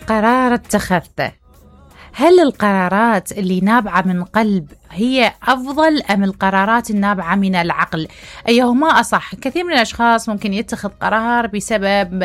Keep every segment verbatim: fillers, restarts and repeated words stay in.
قرار اتخذته، هل القرارات اللي نابعة من قلب هي أفضل أم القرارات النابعة من العقل؟ أيهما أصح؟ كثير من الأشخاص ممكن يتخذ قرار بسبب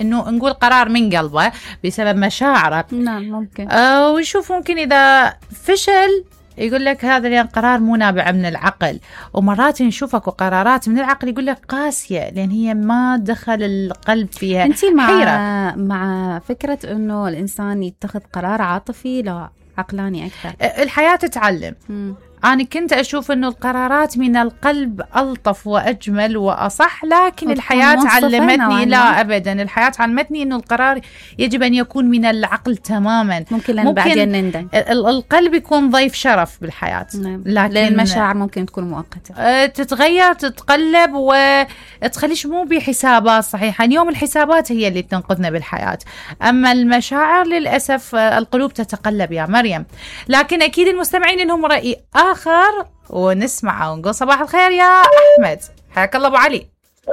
أنه نقول قرار من قلبه بسبب مشاعره. نعم ممكن. أه ويشوف ممكن إذا فشل يقول لك هذا لأن قرار مو نابع من العقل، ومرات نشوفك قرارات من العقل يقول لك قاسية لأن هي ما دخل القلب فيها. أنتي مع حيرة. مع فكرة أنه الإنسان يتخذ قرار عاطفي لا عقلاني أكثر؟ الحياة تتعلم. م. أنا كنت أشوف أنه القرارات من القلب ألطف وأجمل وأصح، لكن الحياة علمتني لا أبدا، الحياة علمتني أنه القرار يجب أن يكون من العقل تماما. ممكن لأن بعدين نندم. القلب يكون ضيف شرف بالحياة. نعم. لكن المشاعر ممكن تكون مؤقتة، تتغير تتقلب وتخليش مو بحسابات صحيحة. اليوم الحسابات هي اللي تنقذنا بالحياة، أما المشاعر للأسف القلوب تتقلب يا مريم. لكن أكيد المستمعين لهم رأي آخر ونسمعه ونقول صباح الخير يا أحمد. حياك الله أبو علي.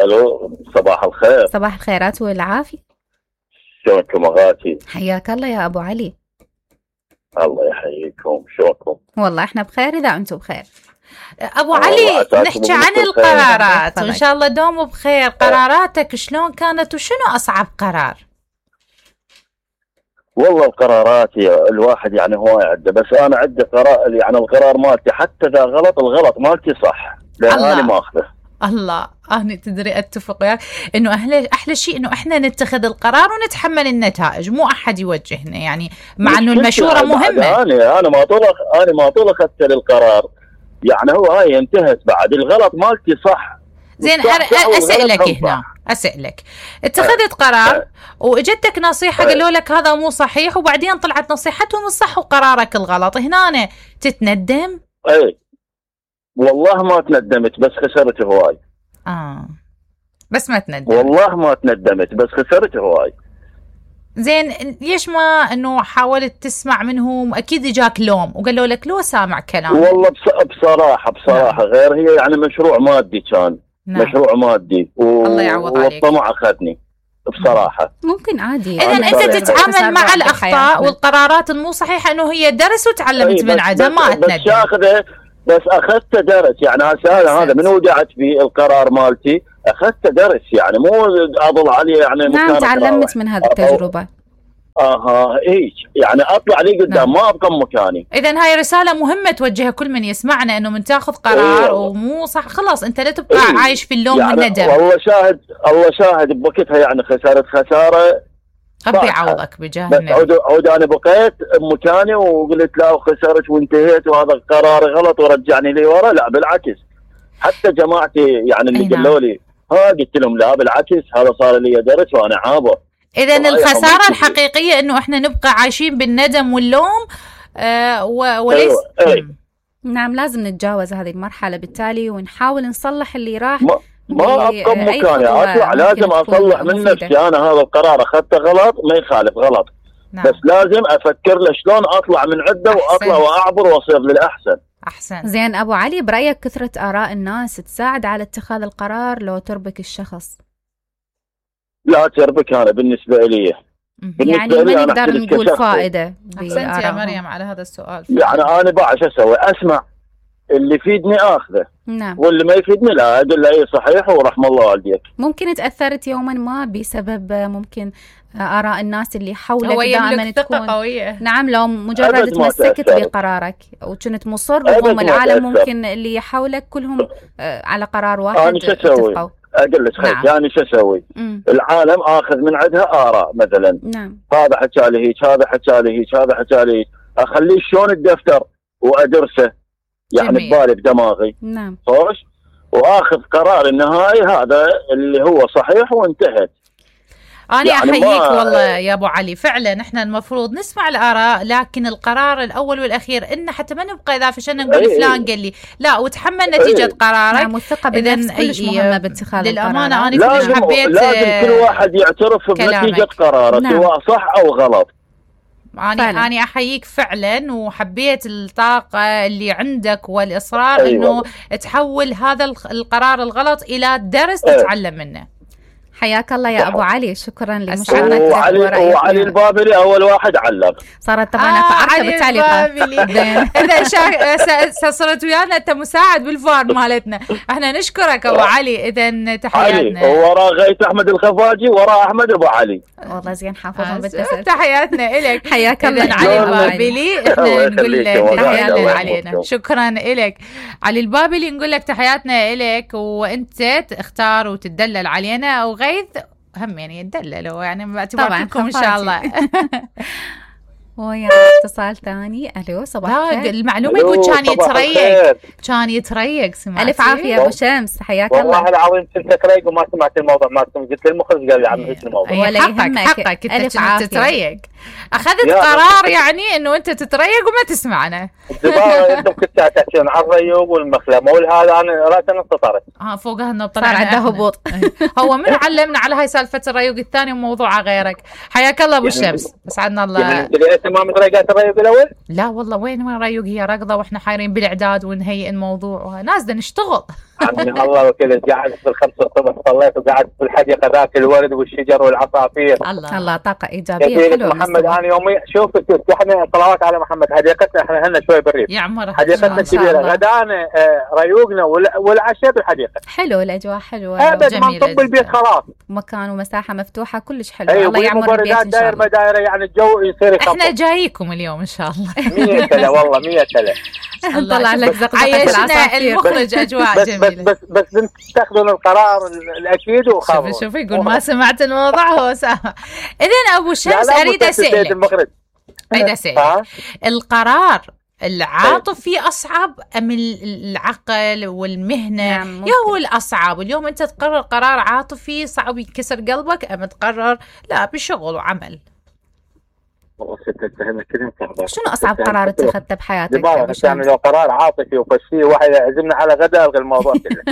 ألو صباح الخير. صباح الخيرات والعافية. شلونكم أغاتي؟ حياك الله يا أبو علي. الله يحييكم، شلونكم؟ والله إحنا بخير إذا أنتم بخير. أبو علي نحكي عن القرارات وإن شاء الله دوم بخير. قراراتك شلون كانت وشنو أصعب قرار؟ والله القرارات الواحد يعني هو عنده، بس أنا عندي قرار يعني القرار مالتي حتى إذا غلط الغلط مالتي صح لأن أنا ما أخذه. الله أنا تدري أتفق وياك إنه أحلى أحلى شيء إنه إحنا نتخذ القرار ونتحمل النتائج، مو أحد يوجهنا يعني، مع إنه المشورة مهمة. أنا أنا ما طول أنا ما طول أخذت القرار يعني هو هاي انتهت، بعد الغلط مالتي صح. زين أسألك هنا أسألك اتخذت قرار وإجتك نصيحة قالوا لك هذا مو صحيح، وبعدين طلعت نصيحتهم الصح وقرارك الغلط، هنا تتندم؟ اي والله ما تندمت بس خسرت هواي. اه بس ما تندمت. والله ما تندمت بس خسرت هواي. زين ليش ما انه حاولت تسمع منهم؟ اكيد اجاك لوم وقالوا لك لو سامع كلام. والله بصراحة بصراحة نعم. غير هي يعني مشروع مادي كان. نعم. مشروع مادي و... الله يعوض عليك. والطمع أخذني بصراحة. ممكن عادي. إذن أنت تتعامل مع الأخطاء والقرارات المو صحيحة إنه هي درس وتعلمت من عدم ما أتندم. بس أخذه بس أخذت درس يعني هذا هذا من وجعت في القرار مالتي أخذت درس يعني مو أضل عليه يعني. نعم تعلمت من هذه التجربة. اها هيك يعني اطلع لي قدام. نعم. ما ابقى مكاني. اذا هاي رساله مهمه توجهها كل من يسمعنا انه من تاخذ قرار إيه. ومو صح خلاص انت لا تبقى إيه. عايش في اللوم يعني والندم. والله شاهد الله شاهد بوقتها يعني خسارة خساره ربي يعوضك بجاه النبي. عود عود انا بقيت بمكاني وقلت لا وخسرت وانتهيت وهذا القرار غلط ورجعني لي ورا. لا بالعكس حتى جماعتي يعني اللي قالوا لي ها قلت لهم لا بالعكس هذا صار لي درس وانا عابر. إذن الخسارة الحقيقية إنه إحنا نبقى عايشين بالندم واللوم آه وليس. أيوة. أيوة. نعم لازم نتجاوز هذه المرحلة بالتالي ونحاول نصلح اللي راح. ما, ما أبقى مكاني أطلع لازم أصلح من نفسي. أنا هذا القرار أخذته غلط ما يخالف غلط. نعم. بس لازم أفكر له شلون أطلع من عدة وأطلع وأعبر وأصير للأحسن. أحسن. زين أبو علي برأيك كثرة آراء الناس تساعد على اتخاذ القرار لو تربك الشخص؟ لا تربك أنا بالنسبة لي يعني ما نقدر نقول فائدة. أحسنت يا مريم على هذا السؤال. يعني أنا بعد شو أسوي أسمع اللي يفيدني أخذه. نعم. واللي ما يفيدني لا أقول له إيه صحيح ورحم الله والديك. ممكن تأثرت يوما ما بسبب ممكن آراء الناس اللي حولك دائما تكون قوية. نعم لو مجرد تمسكت بقرارك وكنت مصر وهم العالم ممكن اللي حولك كلهم على قرار واحد. أنا شو أسوي؟ أقول لك خير يعني شو أسوي؟ العالم آخذ من عندها آراء مثلا. نعم. هذا حكى لي هيك هذا حكى لي هيك هذا حكى لي هيك أخليه شلون الدفتر وأدرسه يعني ببالي بدماغي. نعم. خوش وآخذ قرار النهائي هذا اللي هو صحيح وانتهت. أنا يعني أحييك والله يا أبو علي فعلا إحنا المفروض نسمع الآراء لكن القرار الأول والأخير إن حتى ما نبقى إذا فشلنا نقول أيه فلان قال لي لا وتحمل نتيجة أيه قرارك. نعم والثقة بالنفس كلش مهمة باتخاذ القرار. للأمانة أنا كلش حبيت لازم كل واحد يعترف بنتيجة قراره. نعم. سواء صح أو غلط. أنا أنا أحييك فعلا وحبيت الطاقة اللي عندك والإصرار أيوة. إنه تحول هذا القرار الغلط إلى درس أيه. تتعلم منه. حياك الله يا ابو علي، شكرا لمشاركتك. وعلي, وعلي البابلي اول واحد علق. صارت طبعا اكو عركه بالتعليقات. اذا صرت ويانا انت مساعد بالفار مالتنا، احنا نشكرك ابو علي. اذا تحياتنا. علي وراء غيث احمد الخفاجي، وراء احمد ابو علي. والله زين حافظهم بالتسلسل. تحياتنا الك. حياك الله علي البابلي. احنا نقول لك تحياتنا علينا. شكرا الك علي البابلي. نقول لك تحياتنا الك، وانت تختار وتدلل علينا او غيث هم يعني يدللوا يعني باعتباركم ان شاء الله. ويا اتصال ثاني. الو صباح الخير. المعلومه يقول كان يتريق كان يتريق سمعتي؟ الف عافيه ابو شمس، حياك الله. والله العظيم كنت اتريق وما سمعت الموضوع مالكم، قلت للمخرج قال لي عم اسم الموضوع. ولا يهمك، حقك انت كنت تتريق. اخذت قرار يعني انه انت تتريق وما تسمعنا. انتم كنتوا تحكون عن الريوق والمخلمه والهذا، انا راسا انتصرت. اه فوقها انه طلع عنده هبوط. هو من علمنا على هاي سالفه الريوق الثاني وموضوعه غيرك. حياك الله ابو الشمس، اسعدنا الله. ما متريقات الريوق الاول؟ لا والله وين وين ريوق، هي ركضه واحنا حايرين بالاعداد ونهيئ الموضوع وناس بدنا نشتغل. عمي الله وكيل، قاعد في الخمسة الصبح صليت وقاعد في الحديقه ذاك الورد والشجر والعصافير. الله الله طاقه ايجابيه حلوه. محمد انا يومي شوف احنا صلوات على محمد، حديقتنا احنا هنا شوي بالريف يعمرها، حديقتنا كبيره، غدانا ريوقنا والعشاء بالحديقه. حلو الاجواء حلوه ابد ما نطب البيت خلاص، مكان ومساحه مفتوحه كلش حلو. أيوة الله يعمر البيت ان شاء الله. داير يعني الجو يصير يخفف. احنا جايكم اليوم ان شاء الله. مية سنه والله مية سنه. نطلع لك زقزقه عيشنا المخرج اجواء بس جميله. بس بس بس تاخذون القرار الاكيد وخافوا. شوف شوف يقول ما سمعت الموضوع هو سامع. اذا ابو شمس اريد اسالك اريد اسالك القرار العاطفي اصعب ام العقل والمهنه؟ نعم يا هو الاصعب اليوم انت تقرر قرار عاطفي صعب يكسر قلبك، ام تقرر لا بشغل وعمل؟ شنو اصعب قرار اتخذته بحياتك؟ يعني لو قرار عاطفي وفشي واحد يعزمنا على غداء الغي الموضوع كله.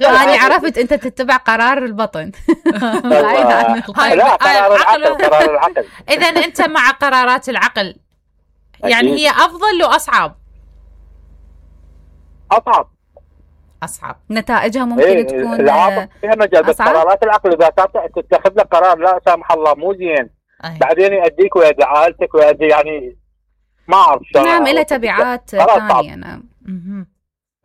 انا عرفت انت تتبع قرار البطن. لا قرار العقل قرار العقل. اذا انت مع قرارات العقل، يعني هي افضل واصعب؟ اصعب اصعب نتائجها ممكن إيه تكون العاطفه فيها مجال، بس قرارات العقل اذا تتخذ لك قرار لا سامح الله مو زين أيه. بعدين يؤديك ويؤدي عائلتك ويؤدي يعني ما اعرف شلون. نعم له تبعات ثانيه. نعم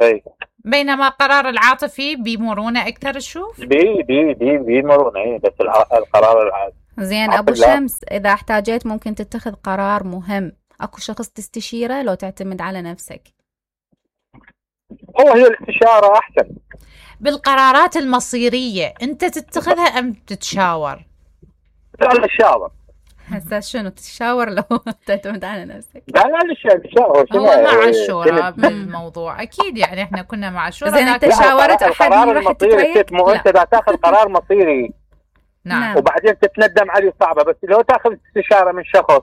اي بينما قرار العاطفي بمرونه اكثر تشوف؟ بي بي بي بمرونه اي، بس القرار العاطفي زين. ابو شمس اذا احتاجيت ممكن تتخذ قرار مهم، اكو شخص تستشيره لو تعتمد على نفسك؟ هو هي الاستشاره احسن. بالقرارات المصيريه انت تتخذها ام تتشاور؟ لا الشاور. هسه شنو تتشاور لو تعتمد على نفسك؟ لا لا الشاور هو مع الشورى بالموضوع اكيد، يعني احنا كنا مع الشورى. زين انت شاورت احد راح تتريق؟ مو انت اذا تاخذ قرار مصيري نعم وبعدين تتندم عليه صعبه، بس لو تاخذ استشاره من شخص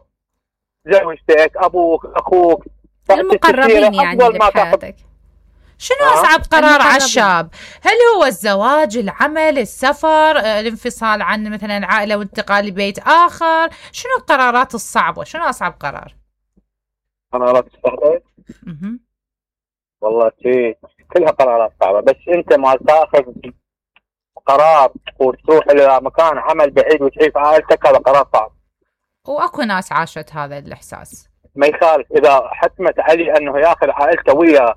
زوجتك ابوك اخوك المقربين يعني اللي بحياتك. شنو أصعب قرار على الشاب؟ هل هو الزواج، العمل، السفر، الانفصال عن مثلا عائلة وانتقال لبيت آخر؟ شنو القرارات الصعبة؟ شنو أصعب قرار؟ قرارات صعبة؟ والله شيء كلها قرارات صعبة، بس أنت ما تاخذ قرار وتروح إلى مكان عمل بعيد وتعيش عائلتك، هذا قرار صعب. وأكو ناس عاشت هذا الإحساس. ما يخالف إذا حتمت علي أنه ياخذ عائلته وياه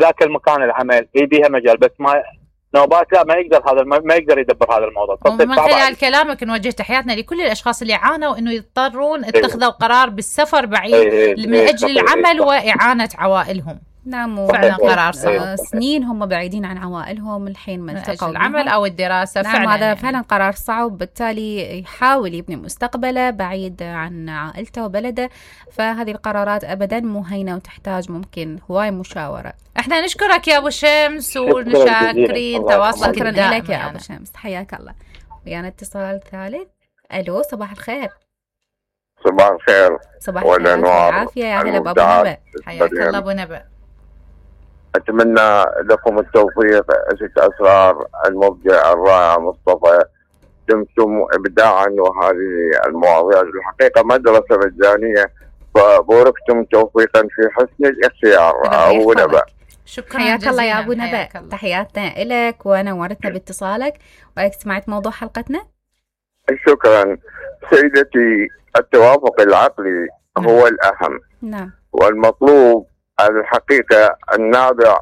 ذاك المكان العمل هي بيها مجال، بس ما نوبات لا ما يقدر هذا ما يقدر يدبر هذا الموضوع. ومن خلال كلامك نوجه تحياتنا لكل الاشخاص اللي عانوا انه يضطرون اتخذوا قرار بالسفر بعيد ايه من ايه اجل العمل واعانه عوائلهم. نعم فعلا قرار صعب. سنين هم بعيدين عن عوائلهم الحين ما التقوا العمل او الدراسه. نعم فعلا هذا يعني. فعلا قرار صعب، بالتالي يحاول يبني مستقبله بعيد عن عائلته وبلده، فهذه القرارات ابدا مو هينه وتحتاج ممكن هواي مشاوره. احنا نشكرك يا ابو شمس ونشاكرين تواصلك. شكرا لك يا ابو شمس، حياك الله. ويانا اتصال ثالث. الو صباح الخير. صباح الخير. صباح الخير والعافيه، يا هلا بابو نبأ. حياك الله ابو نبأ. أتمنى لكم التوفيق. ست أسرار المبدع الرائع مصطفى، دمتم إبداعا، وهذه المواضيع الحقيقة مدرسة مجانية، فبوركتم توفيقا في حسن الاختيار. أبو نبأ. شكرا حياك الله يا جزيلا. أبو نبأ، حياك الله. تحياتنا إلك ونورتنا باتصالك، وإنك سمعت موضوع حلقتنا. شكرا سيدتي. التوافق العقلي هو الأهم نعم. والمطلوب الحقيقة النابع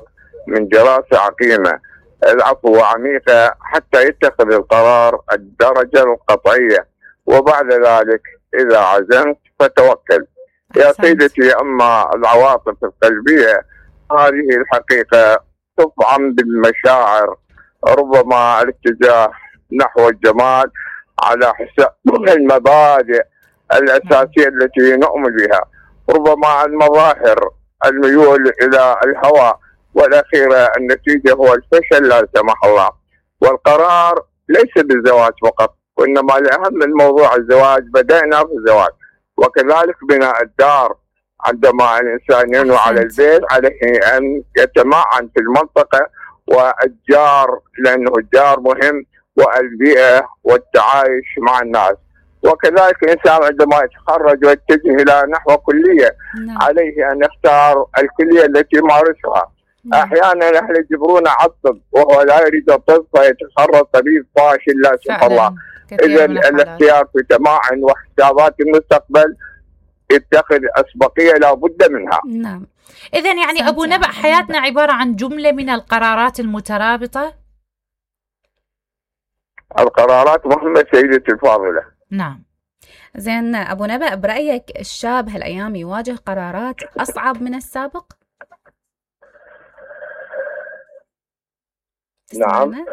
من دراسة عقيمة العفو وعميقة حتى يتخذ القرار الدرجة القطعية، وبعد ذلك إذا عزمت فتوكل. يا سيدتي، أما العواطف القلبية هذه الحقيقة تطعم بالمشاعر، ربما الاتجاه نحو الجمال على حساب المبادئ الأساسية التي نؤمن بها، ربما المظاهر الميول إلى الهوى، والأخيرة النتيجة هو الفشل لا سمح الله. والقرار ليس بالزواج فقط، وإنما الأهم من موضوع الزواج بدأنا في الزواج، وكذلك بناء الدار. عندما الإنسان ينوي على البيت عليه أن يتمعن في المنطقة والجار، لأنه الجار مهم، والبيئة والتعايش مع الناس. وكذلك الإنسان عندما يتخرج ويتجه إلى نحو كلية نعم. عليه أن يختار الكلية التي يمارسها. نعم. أحيانا أهل يجبرون على الطب وهو لا يريد الطب فيتخرج طبيب فاشل لا سمح الله. إذا الاختيار في تماعن وحسابات المستقبل يتخذ أسبقية لا بد منها. نعم. إذا يعني أبو نبأ حياتنا عبارة عن جملة من القرارات المترابطة. القرارات مهمة سيدتي الفاضلة. نعم. زين أبو نبأ، برأيك الشاب هالأيام يواجه قرارات أصعب من السابق؟ نعم.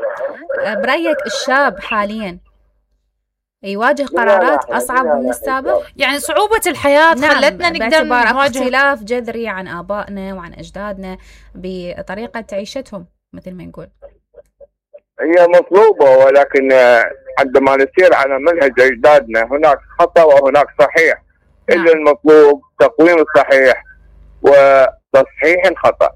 برأيك الشاب حاليا يواجه قرارات أصعب من السابق؟ يعني صعوبة الحياة نعم. خلتنا نقدر نواجه اختلاف جذري عن آبائنا وعن أجدادنا بطريقة عيشتهم مثل ما نقول. هي مطلوبة، ولكن عندما نسير على منهج أجدادنا هناك خطأ وهناك صحيح. نعم. إذا المطلوب تقويم الصحيح وتصحيح الخطأ.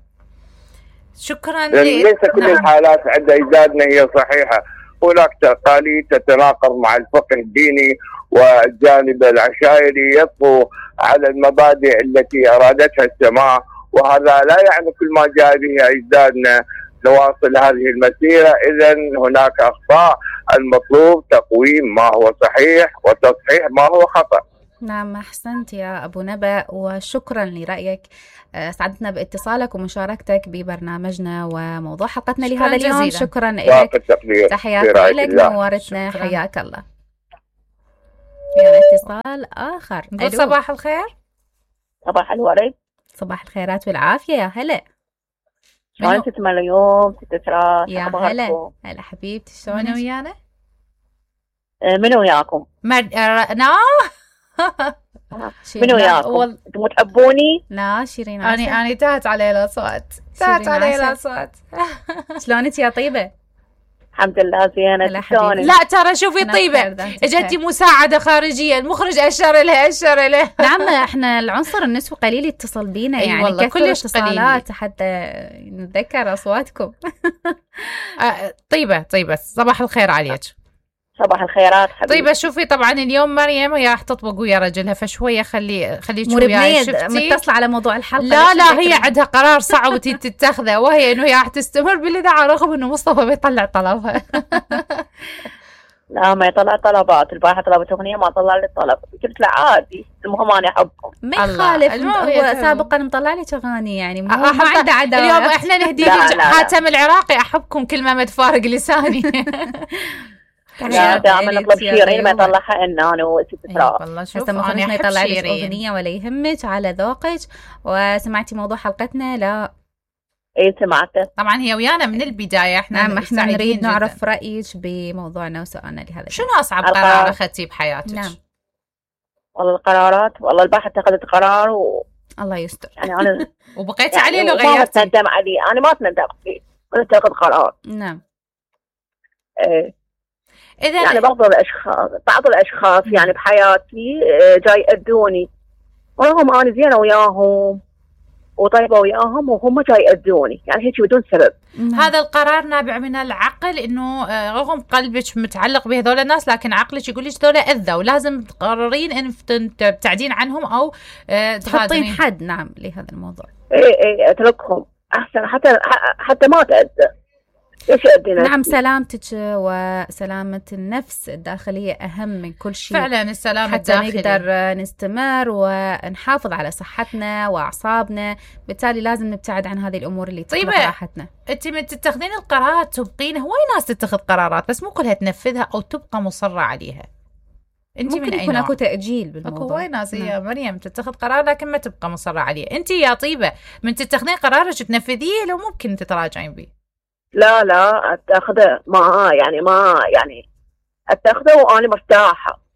شكرا. ليس كل نعم. الحالات عند أجدادنا هي صحيحة، هناك تقاليد تتناقض مع الفقه الديني، والجانب العشائري يطغو على المبادئ التي أرادتها السماء، وهذا لا يعني كل ما جاء به أجدادنا نواصل هذه المسيرة. إذا هناك أخطاء، المطلوب تقويم ما هو صحيح وتصحيح ما هو خطأ. نعم، أحسنت يا أبو نبأ، وشكرا لرأيك. سعدتنا باتصالك ومشاركتك ببرنامجنا وموضوع حلقتنا لهذا اليوم. جزيلا. شكرا لك، تحياتي لك، نورتنا، حياك الله. يعني اتصال آخر. نقول صباح الخير. صباح الورد. صباح الخيرات والعافية، يا هلا. شلونك تسمع اليوم ست راس؟ يا هلا. هلا حبيبتي، شلونك؟ منو ويانا؟ منو وياكم؟ مر... نا منو وياكم؟ وال... انتم تحبوني؟ لا شيرين، اني اني تهت علي الاصوات، تهت علي الاصوات. شلونك يا طيبة؟ الحمد لله زينة. شلونك؟ لا ترى شوفي طيبة، اجتي مساعدة خارجية، المخرج اشر لها اشر لها. نعم، احنا العنصر النسوي قليل يتصل بينا، يعني والله كثر اتصالات حتى نتذكر اصواتكم. طيبة طيبة، صباح الخير عليك. صباح الخيرات حبيبي. طيب شوفي، طبعا اليوم مريم هي راح تطبق ويا رجلها، فشويه خلي خليك وياي. شفتي متصله على موضوع الحلقه؟ لا لا، هي عندها قرار صعب تتخذه، وهي انه هي راح تستمر بالاذاعه رغم انه مصطفى بيطلع طلبها. لا ما يطلع طلبات، البارحه طلبت اغنيه ما طلع لي الطلب، قلت له عادي، المهم انا احبكم. ما يخالف، هو سابقا مطلع لي اغاني، يعني ما عنده عداوه. اليوم احنا نهدي لك حاتم العراقي، احبكم كل ما متفارق لساني. لا دائما نطلب شيرين ما يطلعها إن أنا وست فراغ. والله شوف أنا ما يطلع لك أغنية ولا يهمك على ذوقك. وسمعتي موضوع حلقتنا؟ لا إيه سمعته طبعا، هي ويانا من البداية. إحنا نعم، إحنا نريد نعرف رأيك بموضوعنا وسؤالنا لهذا. شنو أصعب قرار أخذتي بحياتك؟ نعم والله القرارات، والله البارحة اتخذت قرار و الله يستر يعني أنا وبقيتي عليه لو غيرتي؟ ما تندم عليه، أنا ما تندم عليه، أنا اتخذ قرار. نعم إيه. إذا يعني بعض الأشخاص بعض الأشخاص يعني بحياتي جاي يأذوني، ورغم أنا زينة وياهم وطيبة وياهم وهم جاي يأذوني، يعني هيك بدون سبب. هذا القرار نابع من العقل، إنه رغم قلبك متعلق بهذول الناس، لكن عقلك يقول لك ذولا أذى ولازم تقررين إن تبتعدين عنهم أو تحطين حد. نعم لهذا الموضوع. إيه إيه أتركهم، احسن حتى حتى ما تاذى. نعم، سلامتك وسلامة النفس الداخلية أهم من كل شيء فعلا. السلامة حتى الداخلية نقدر نستمر ونحافظ على صحتنا وأعصابنا، بالتالي لازم نبتعد عن هذه الأمور اللي تقلق راحتنا. أنت من تتخذين القرارات تبقين، هواي ناس تتخذ قرارات بس مو كلها تنفذها أو تبقى مصرة عليها. انت ممكن من يكون اكو تأجيل بالموضوع. اكو هواي ناس يا مريم تتخذ قرار لكن ما تبقى مصرة عليه. انت يا طيبة من تتخذين قرارك تنفذيه لو ممكن تتراجعين بيه؟ لا لا اتاخذه ما يعني ما يعني اتاخذه وانا مرتاحه.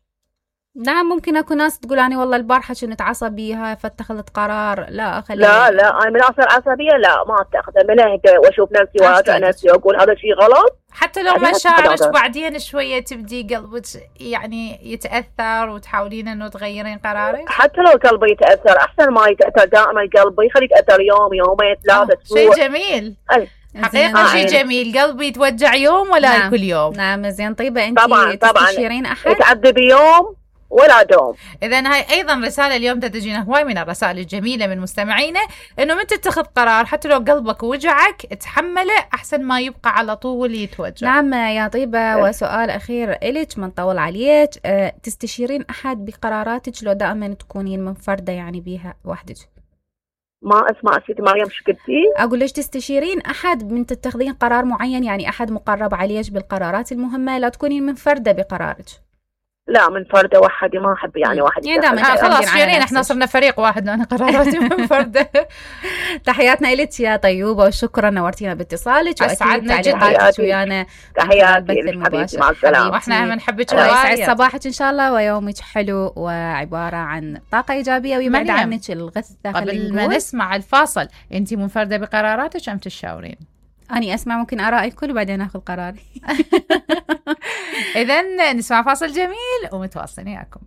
نعم، ممكن اكو ناس تقول اني والله البارحه كنت عصبيه فاتخذت قرار لا اخلي. لا لا انا من اصير عصبيه لا ما اتاخذه، من اهدى واشوف نفسي واراجع نفسي واقول هذا شيء غلط. حتى لو مشاعرك بعدين شويه تبدي قلبك يعني يتاثر وتحاولين انه تغيرين قرارك. حتى لو قلبي يتاثر احسن ما يتاثر دائما قلبي، خليه يتاثر يوم يومين ثلاثه اسبوع. شيء جميل. أي. حقيقة شيء جميل، قلبي يتوجع يوم ولا نعم. كل يوم. نعم زين. طيبة انت طبعا تستشيرين احد؟ يتعذب يوم ولا دوم. اذا هاي ايضا رسالة اليوم تجينا هواي من الرسائل الجميلة من مستمعينا، انه من تتخذ قرار حتى لو قلبك وجعك تحمله احسن ما يبقى على طول يتوجع. نعم يا طيبة. أه. وسؤال اخير الك من طول عليك، أه تستشيرين احد بقراراتك لو دائما تكونين منفردة يعني بيها وحدك؟ ما اسمع سيدي مريم شو قلتي؟ اقول ليش تستشيرين احد من تتخذين قرار معين، يعني احد مقرب عليك بالقرارات المهمه، لا تكونين منفرده بقرارك. لا منفرده وحدي ما احب يعني واحد يعني دائما آه خلاص شيرين احنا صرنا فريق واحد وانا قراراتي منفرده. تحياتنا لك يا طيوبه وشكرا نورتينا باتصالك واسعدنا تعليقاتك ويانا. تحياتي حبيبتي مع السلامه. واحنا بنحبك ويسعد صباحك ان شاء الله ويومك حلو وعباره عن طاقه ايجابيه ويبعد عنك الغث الداخلي. قبل ما نسمع الفاصل انت منفرده بقراراتك ام تشاورين؟ أني أسمع ممكن آراء الكل وبعدين أخذ قراري. إذن نسمع فاصل جميل ومتواصلين وياكم.